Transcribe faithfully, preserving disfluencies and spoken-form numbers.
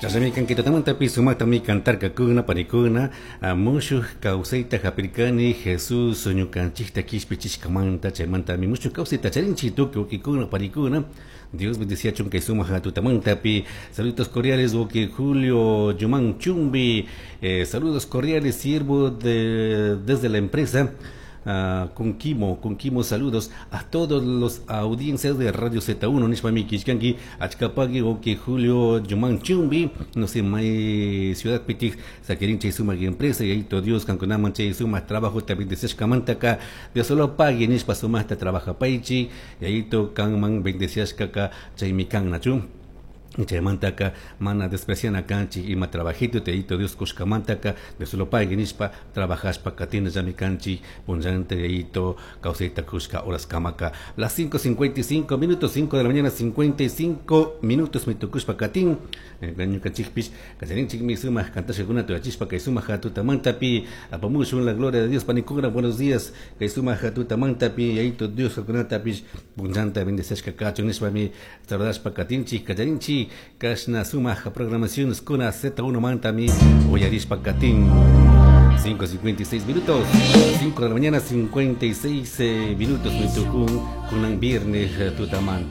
Chashnami kanki tutamantapi sumaktami cantarkakuna panikuna mushuj kawsayta hapirkani Jesus ñukanchikta kishpichishkamanta chaymantami mushuj kawsayta charinchik tukuy wawkikuna panikuna. Dios bendeciachun kay sumak tutamantapi. Saludos cordiales wawki Julio Yumán Chumbi, eh, saludos cordiales, siervo de, desde la empresa Uh, con Kimo, con Kimo, saludos a todos los audiencias de Radio Z uno, nishpami kishkanki, achkapagui wawki Julio Yumán Chumbi, no sé, may ciudad pitik, sakirin chay sumak empresa, Yayito Dios, kankunaman chay sumak trabajo, ta bendeciashkamantaka, Dios solo pague, nishpa sumakta trabajapaichi, Yayito kanman bendeciashkaka, chaymi kan, nachu. Chaymantaka mana despreciana kanchik ima trabajito Yayito Dios kushkamantaka, Dios solo pague nishpa trabajashpa katinallami kanchik punllanta Yayito kawsayta kushka horas kamaka. Las cinco cincuenta y cinco minutos, cinco de la mañana cincuenta y cinco minutos mi tukushpa katin. Ñukanchikpish kacharinchikmi sumak kantashkakuna tuyachishpa kay sumak tutamantapi. Apamushun la gloria de Dios, panikuna. Buenos días kay sumak tutamantapi. Yayito Dios kankunatapish punllanta bendeciashka kachun nishpami saludashpa katinchik, kacharinchik kashna sumak programaciones kuna Z uno mantami uyarishpa katin. cinco cincuenta y seis minutos, cinco de la mañana cincuenta y seis eh, minutos mi tukun kunan viernes eh, tutamanta.